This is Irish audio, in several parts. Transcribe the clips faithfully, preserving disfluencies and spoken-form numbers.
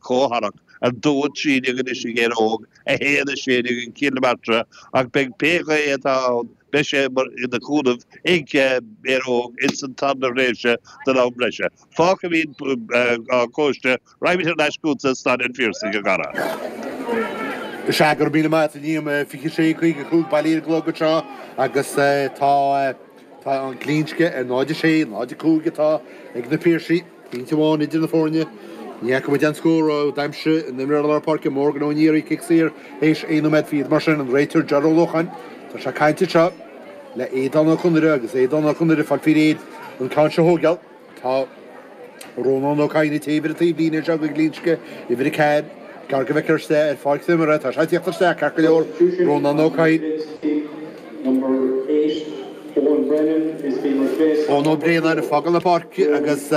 comhtharach a dó trí déag anois ag Éire Óg a haon a sé déag ag Cill na Martra ach beidh pé gaoth atá ann beidh sé ina chúnamh ag Éire Óg ins an tarna thréimhse den am breise. Fágfaimid an cóiste raghaimid thar n-ais chugatsa Staid an Phiarsaigh a Dhara. Is ea go raibh míle maith agat a Liam fiche sé caoga cúig bailithe ar an gclog anseo agus tá tá an Glinsce ar náid a sé, náid a cúig atá ag na Piarsaigh, pointe amháin idir na foirne. Ní fhaca muid aon scór ó d'aimsigh an imreoir lár páirce Morgan Ó Néaraí cic saor théis aon nóiméad fichead mar sin an réiteoir Ger Ó Lócháin. Tá sé ag caint anseo le Aodán Ó Conaire agus Aodán Ó Conaire ag fáil faoi réir an ceann seo a thógáil. Tá Rónán Ó Cadhain ag téamh ar an taobhlíne anseo do Ghlinsce, uimhir a ceathair, gar go bhfeictear isteach ar pháirc na himeartha. Tá sé ag tíocht isteach ceart go leor, Rónán Ó Cadhain. Eoin Ó Braonáin ag fágáil na páirce agus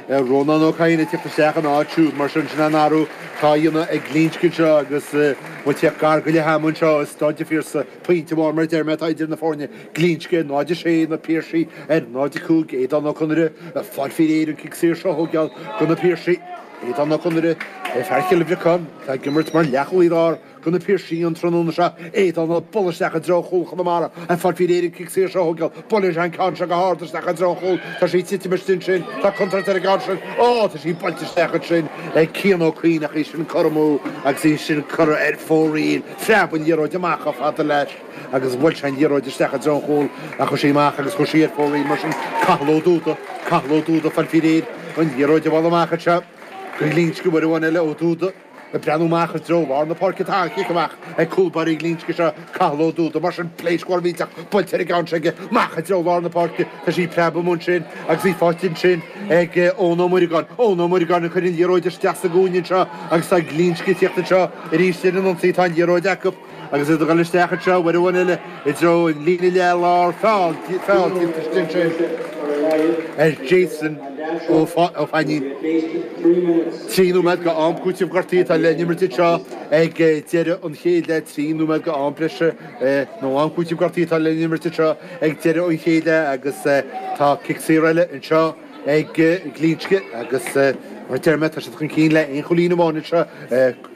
Rónán Ó Cadhain ag tíocht isteach ina áit siúd. Mar sin, sin an athrú atá á dhéanamh ag Glinsce anseo agus muid ag tíocht gar go leath ama anseo i Staid an Phiarsaigh. Pointe amháin mar a deir mé atá idir na foirne, Glinsce náid a sé, na Piarsaigh ar náid a cúig, Aodán Ó Conaire ag fáil faoi réir an cic saor seo a thógáil do na Piarsaigh. Aodán Ó Conaire, fear Chill Bhriocáin, atá ag imirt mar leathchúlaí láir do na Piarsaigh an tráthnóna seo. Aodán ag bualadh isteach i dtreo chúl Chonamara ag fáil faoi réir an cic saor seo a thógáil. Buaileann sé an ceann seo go hard isteach i dtreo an chúil. Tá sí ag titim istigh ansin. Tá contúirt ar an gceann sin. Ó, tá sí buailte isteach ansin ag Cian Ó Cuinn ach í sin curtha amú agus í sin curtha ar fóraoil. Phreab an liathróid amach chomh fada leis agus bhuail sé an liathróid isteach i dtreo an chúil ach chuaigh sí amach agus chuaigh sí ar fóraoil mar sin. Cathal Ó Dúda, Cathal Ó Dúda ag fáil faoi réir an liathróid a bhualadh amach anseo go Glinsce uair amháin eile Ó Dúda. Ag breathnú amach i dtreo lár na páirce tá an chic amach ag cúl báire Ghlinsce seo, Cathal Ó Dúda. Mar sin, pléasc mhór mhillteach buailte ar an gceann seo aige amach i dtreo lár na páirce. Tá sí ag preabadh amuigh ansin agus í faighte ansin ag Eoin Ó Muireagáin. Eoin Ó Muireagáin ag cur an liathróid isteach sa gcúinne anseo agus tá Glinsce ag tíocht anseo arís ar an ionsaí. Tá an liathróid acu. Agus iad ag dul isteach anseo uair amháin eile i dtreo an líne leath lár, feall, feall déanta istigh ansin ar Jason Ó Fainín. Trí nóiméad go am cúitimh gortaithe atá le n-imirt anseo ag deireadh an chéad leath, trí nóiméad go am breise nó am cúitimh gortaithe atá le n-imirt anseo ag deireadh an chéad leath agus tá cic saor eile anseo ag Glinsce agus mar a deir mé tá siad chun cinn le aon chúilín amháin anseo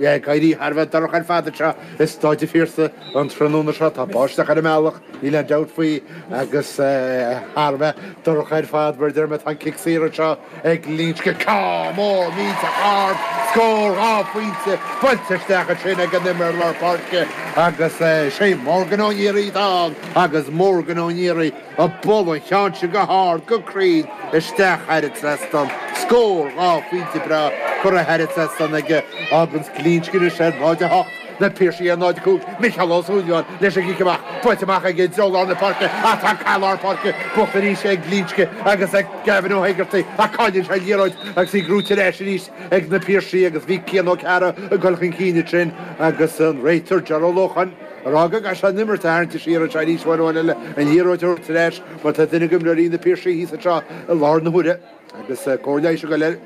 ag éirí thar a bheith dorcha ar fad anseo i Staid an Phiarsaigh an tráthnóna seo. Tá báisteach ar an mbealach, níl aon dabht faoi agus thar a bheith dorcha ar fad mar a deir mé tá an cic saor anseo ag Glinsce. Ceann mór millteach ard, scór dhá phointe buailte isteach ansin ag an imreoir lár páirce agus sé Morgan Ó Néaraí atá ann agus Morgan Ó Néaraí ag bualadh an cheann sin go hard, go cruinn, isteach thar an trasnán. Scór dhá phointe breá curtha thar an trasnán aige. Fáganns Glinsce anois ar náid a hocht, na Piarsaigh ar náid a cúig. Micheál Ó Súilleabháin leis an gcic amach. Buailte amach aige i dtreo lár na páirce ach tá cath lár páirce buachta arís ag Glinsce agus ag Gavin Ó hÉigeartaigh ach cailleann sé an liathróid agus í gnóite ar ais arís ag na Piarsaigh agus bhí Cian Ó Cearra ag dul chun cinn ansin agus an réiteoir Ger Ó Lócháin ag rá go gcaithfidh sé an imirt a tharraingt siar anseo arís uair amháin eile, an liathróid a thabhairt ar ais mar tá duine d'imreoirí na Piarsaigh thíos anseo i láthair na huaire agus cóir leighis ag dul air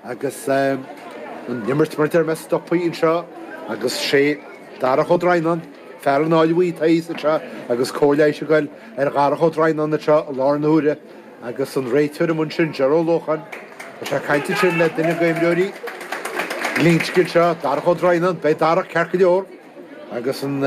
agus an imirt mar a deir mé stoptha anseo agus sé Darach Ó Droighneáin, fear an Fháil Bhuí atá thíos anseo agus cóir leighis ag dul ar Dharach Ó Droighneáin anseo i láthair na huaire agus an réiteoir amuigh ansin, Ger Ó Lócháin, tá sé ag caint ansin le duine d'imreoirí Ghlinsce anseo, Darach Ó Droighneáin, beidh Darach ceart go leor. Agus an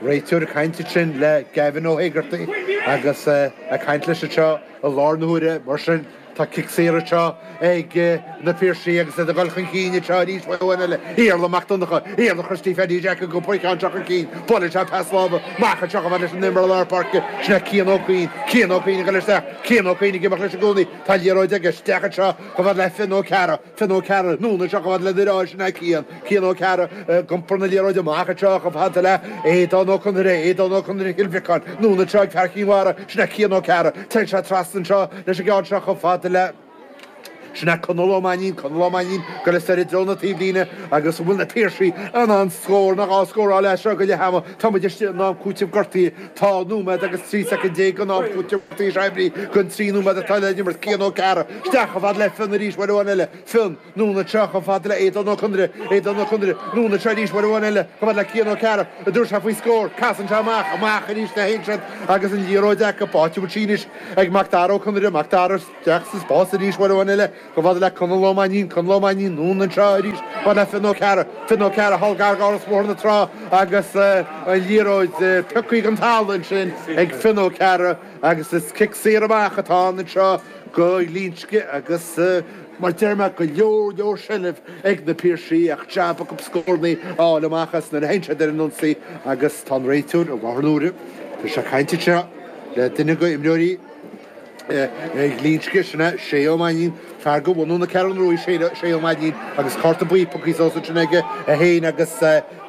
réiteoir ag caint ansin le Gavin Ó hÉigeartaigh agus ag caint leis anseo i láthair na huaire. Mar sin, tá cic saor anseo ag na Piarsaigh agus iad ag dul chun cinn anseo arís uair amháin eile. Iarla Mac Donncha, Iarla Christy Pheaidí Jack ag iompar an ceann seo chun cinn. Buaileann sé pas láimhe amach anseo chomh fada leis an imreoir lár páirce. Sin é Cian Ó Cuinn. Cian Ó Cuinn ag dul isteach. Cian Ó Cuinn ag imeacht leis i gcónaí. Tá an liathróid aige isteach anseo chomh fada le Fionn Ó Cearra. Fionn Ó Cearra, anonn anseo chomh fada lena dheartháir sin é Cian, Cian Ó Cearra, ag iompar na liathróide amach anseo chomh fada le Aodán Ó Conaire, Aodán Ó Conaire Chill Bhriocáin, anonn anseo ag fear Chinn Mhara, sin é Cian Ó Cearra, téann sé trasna anseo leis an gceann seo chomh fada le, sin é Conall Ó Mainnín, Conall Ó Mainnín, ag dul soir i dtreo na taobhlíne agus an bhfuil na Piarsaigh in ann scór nó dhá scóráil as seo go leath ama, tá muid istigh in am cúitimh gortaithe, tá nóiméad agus trí soicind déag den am cúitimh gortaithe seo oibrithe den trí nóiméad atá le n-imirt, Cian Ó Cearra. Isteach chomh fada le Fionn arís uair amháin eile. Fionn, anonn anseo chomh fada le Aodán Ó Conaire. Aodán Ó Conaire, anonn anseo arís uair amháin eile chomh fada le Cian Ó Cearra. An dtabharfaidh sé faoi scór. Casann sé amach, amach arís le hInsead agus an liathróid acu. Áit a bhfuil sí anois ag Mac Dara Ó Conaire. Mac Dara isteach sa spás arís uair amháin eile. Chomh fada le Conall Ó Mainnín, Conall Ó Mainnín anonn anseo arís, chomh fada le Fionn Ó Cearra, Fionn Ó Cearra thall gar d'Áras Bhóthar na Trá agus an liathróid pioctha den talamh ansin ag Fionn Ó Cearra agus is cic saor amach atá ann anseo go Glinsce agus mar deir mé go leor leor seilbh ag na Piarsaigh ach jab acu scóranna a fháil amach as nuair a théann siad ar an ionsaí agus tá an réiteoir i láthair na huaire tá sé ag caint anseo le duine de imreoirí Ghlinsce, sin é Shay Ó Mainnín, fear de bhunadh na Ceathrún Rua Shay Ó Mainnín agus cárta buí pioctha suas ansin aige é féin agus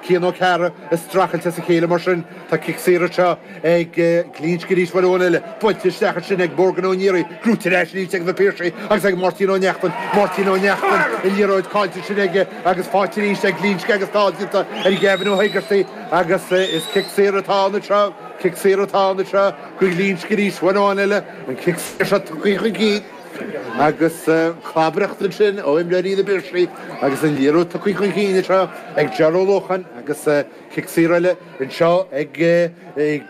Cian Ó Cearra ag streachailt as a chéile mar sin. Tá cic saor anseo ag Glinsce arís uair amháin eile. Buailte isteach ansin ag Morgan Ó Niaraigh. Gnóite ar ais arís ag na Piarsaigh agus ag Máirtín Ó Neachtain. Máirtín Ó Neachtain, an liathróid caillte ansin aige agus faighte arís ag Glinsce agus feall déanta ar Gavin Ó hÉigeartaigh agus is cic saor atá ann anseo. Cic saor atá ann anseo go Glinsce arís uair amháin eile. An cic saor seo tugtha chun cinn agus clabaireacht ansin ó imreoirí na bPiarsaigh agus an liathróid tugtha chun cinn anseo ag Ger Ó Lócháin agus cic saor eile anseo ag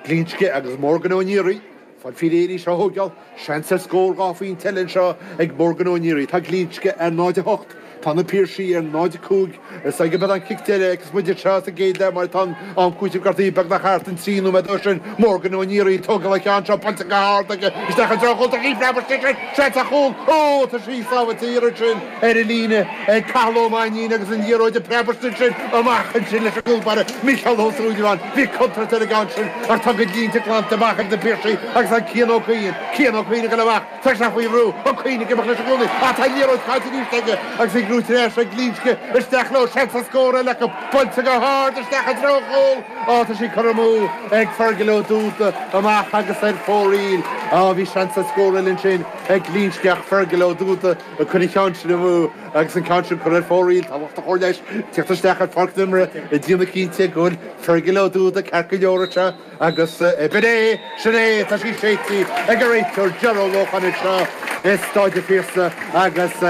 Glinsce agus Morgan Ó Niaraigh. Fáil faoi réir í seo a thógáil. Seans ar scór dhá phointe eile anseo ag Morgan Ó Niaraigh. Tá Glinsce ar náid a hocht. Tá na Piarsaigh ar náid a cúig. Is ag an cic deiridh agus muid anseo sa gcéad leath mar tá an am cúitimh gortaithe beagnach thart an trí nóiméad ó sin. Morgan Ó Niaraigh ag tógáil an ceann seo buailte go hard aige isteach i dtreo chúl tá sí preabadh sin seans ar chúl. Ó tá sí sábháilte iarraidh sin ar an líne ag Cathal Ó Mainnín agus an liathróid ag preabadh sin amach ansin leis an gcúl báire Micheál Ó Súilleabháin. Bhí contúirt ar an gceann sin ach tá go línte glanta amach ag na Piarsaigh agus an Cian Ó Cuinn. Cian Ó Cuinn ag dul amach. Tá sé faoi bhrú, Ó Cuinn ag imeacht leis i gcónaí, ach tá an liathróid caillte arís aige agus í gnóite ar ais ag Glinsce, isteach leo, seans ar scór eile acu, buailte go hard isteach i dtreo an chúil, á tá sí curtha amú ag Fergal Ó Dúda amach agus ar fóraoil, á bhí seans ar scór eile ansin ag Glinsce ach Fergal Ó Dúda ag cur an cheann sin amú agus an ceann sin curtha ar fóraoil, tá lucht an chóir leighis ag tíocht isteach ar pháirc na himeartha ag déanamh cinnte go bhfuil Fergal Ó Dúda ceart go leor anseo. Agus b'in é, sin é, tá sí séidte ag an réiteoir Ger Ó Lócháin anseo i Staid an Phiarsaigh agus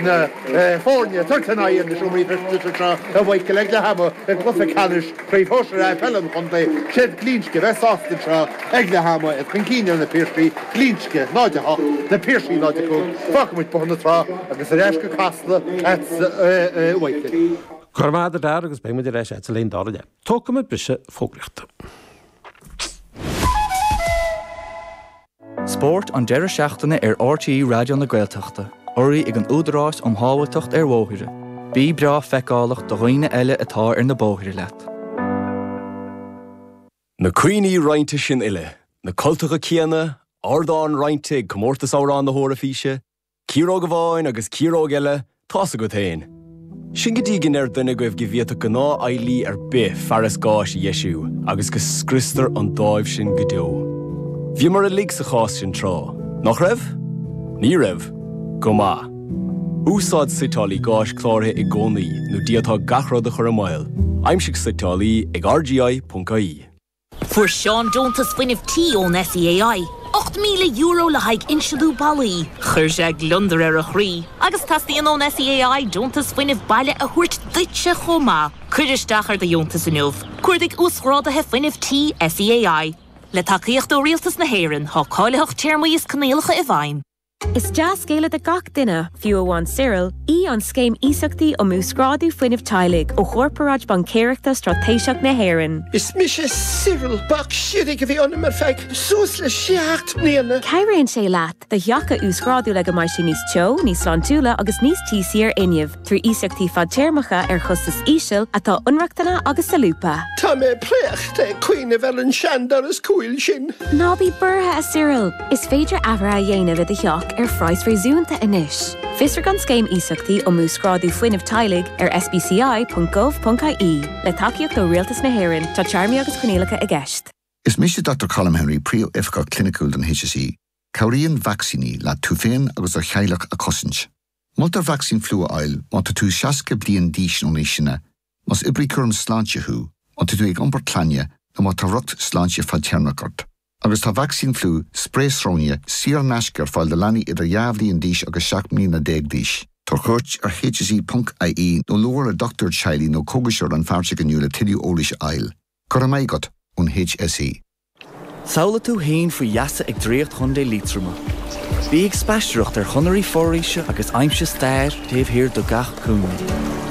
na foirne ag tabhairt a n-aghaidh ar na seomraí feistis anseo a Mhichael ag leath ama i gcluiche ceannais Chraobh Shóisir A Peile an Chontae. Siad Glinsce a bheas sásta anseo ag leath ama, iad chun cinn ar na Piarsaigh, Glinsce náid a hocht, na Piarsaigh náid a cúig. Fágfaidh muid Bóthar na Trá agus ar ais go Casla agatsa a Mhichael. Go raibh maith agat a Dara agus beidh muid ar ais agatsa linn dara leath. Tógfaidh muid briseadh fógraíochta. Spórt an deireadh seachtaine ar R T E Raidió na Gaeltachta, urraithe ag an Údarás um Shábháilteacht ar Bhóithre. Bí breá feiceálach do dhaoine eile atá ar na bóithre leat. Na cuimhní roinnte sin uile, na cultacha céanna, ardán roinnte ag Comórtas Amhrán na hEoraifíse, ciaróg amháin agus ciaróg eile, tá's agat féin. Sin go dtí go ndeir duine agaibh go bhféadfadh gnáthdheaghlaí ar bith fearas gáis a dheisiú agus go scriostar an dáimh sin go deo. Bhíomar uilig sa chás sin tráth, nach raibh? Ní raibh. Go maith. Úsáid suiteálaí gáis cláraithe i gcónaí nó d'fhéadfá gach rud a chur i mbaol. Aimsigh suiteálaí ag R G I ponc I E. Fuair Seán deontas fuinnimh tí ón S E A I. ocht míle euro le haghaidh insealú ballaí. Chuir sé gliondar ar a chroí, agus teastaíonn ón S E A I deontas fuinnimh baile a thabhairt duitse chomh maith. Cuir isteach ar do dheontas inniu. Cuardaigh uasghráduithe fuinnimh tí S E A I. Le tacaíocht ó Rialtas na hÉireann, tá cáilitheacht, téarmaí is coinníollacha i bhfeidhm. Is dea-scéala do gach duine, fiú amháin Cyril, í an scéim iasachtaí um uasghrádú fuinnimh teaghlaigh ó Chorparáid Baincéireachta Straitéiseach na hÉireann. Is mise Cyril bac sirig a bhí ionam ar feadh suas le seacht mbliana. Cabhraíonn sé leat do theach a uasghrádú le go mbeidh sé níos teo, níos sláintiúla agus níos tíosaí ar fhuinneamh, trí iasachtaí fadtéarmacha ar chostas íseal atá inrochtana agus solúbtha. Tá mé préachta ag cuimhneamh ar an seandoras cúil sin. Ná bí buartha a Cyril, is féidir athruithe a dhéanamh i do theach ar phraghas réasúnta anois. Fiosraigh an scéim iasachtaí um uasghrádú fuinnimh teaghlaigh ar S B C I ponc gov ponc I E le tacaíocht ó Rialtas na hÉireann, tá téarmaí agus coinníollacha i gceist. Is mise Doctor Colm Henry, príomhoifigeach cliniciúil don H S E. Cabhraíonn vacsaíní le tú féin agus do theaghlach a chosaint. Moltar vacsaín fliú a fháil má tá tú seasca bliain d'aois nó níos sine, más oibrí cúram sláinte thú, má tá tú ag iompar clainne nó má tá riocht sláinte fadtéarmach ort. Agus tá vacsaín fliú sprae sróine saor in aisce ar fáil do leanaí idir dhá bhliain d'aois agus seacht mbliana déag d'aois. Tabhair cuairt ar H S E ponc I E nó labhair le dochtúir teaghlaigh nó cógaiseoir rannpháirteach inniu le tuilleadh eolais a fháil. Go raibh maith agat ón H S E. Samhlaigh tú féin faoi gheasa ag Draíocht Chontae Liatroma. Bí ag spaisteoireacht ar chonairí foraoise agus aimsigh stair taobh thiar de gach cúinne.